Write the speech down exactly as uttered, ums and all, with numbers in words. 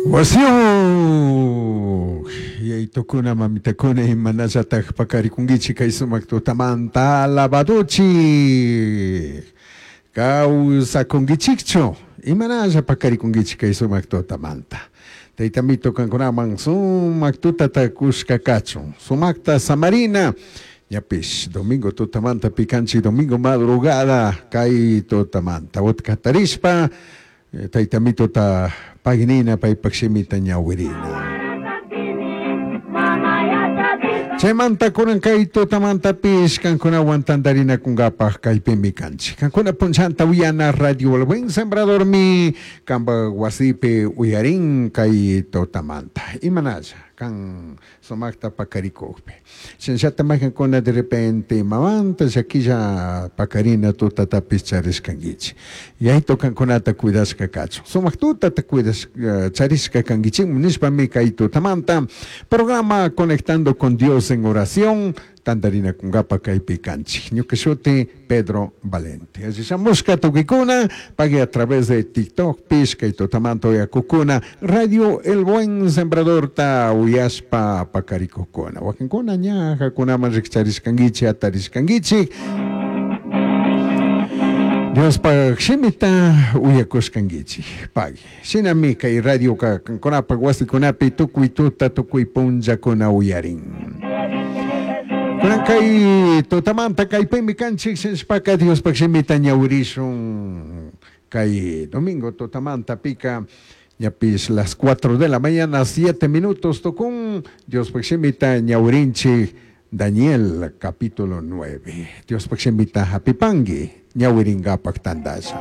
Wasiyu yaitukuna mamitakuna imanallataj pakarikunkichik kay sumak tutamanta alabaduchik kawsakunkichikchu imanalla pakarikunkichik kay sumak tutamanta taytamito kankunaman sumak tutata kushka kachun sumakta samarina ñapish domingo tutamanta pikanchik domingo madrugada kay tutamanta utkatarishpa taytamitota paginina paypak shimita ñawirina Chaymanta kunan kay tutamantapish kankunawan tantarinakunkapaj kaypimi kanchik kankuna punchanta uyana radio El Buen Sembradormi kanpak wasipi uyarin kay tutamanta imanalla kan sumakta pakarikukpi shinallata maykankuna de repente imamanta llakilla pakarina tutatapish charishkankichik yaytu kankunata cuidashka kachun sumak tutata cuidashka charishka kankichikmi nishpami kay tutamanta programa Conectando con Dios en oración tantarinakunkapa kaypi kanchik ñuka shuti Pedro Valente alli shamushka tukuykuna pagui a través de TikTok pish kay tutamanta uyakukuna Radio El Buen Sembradorta uyashpa pakarikukuna wakinkuna ñajakunaman rikcharishkankichik atarishkankichik Diospaq shimita uyakushkankichik pagui shinami kay radioka kankunapak wasikunapi tukuy tuta tukuy punllakuna uyarin Kunan kay tutamanta kaypimi kanchik shinashpaka Diospaq shimita ñawirishun kay domingo tutamanta pika ñapish las cuatro de la mañana siete minutos tukun Diospaq shimita ñawirinchik Daniel capítulo nueve Diospaq shimita hapipanki ñawirinkapak tandasha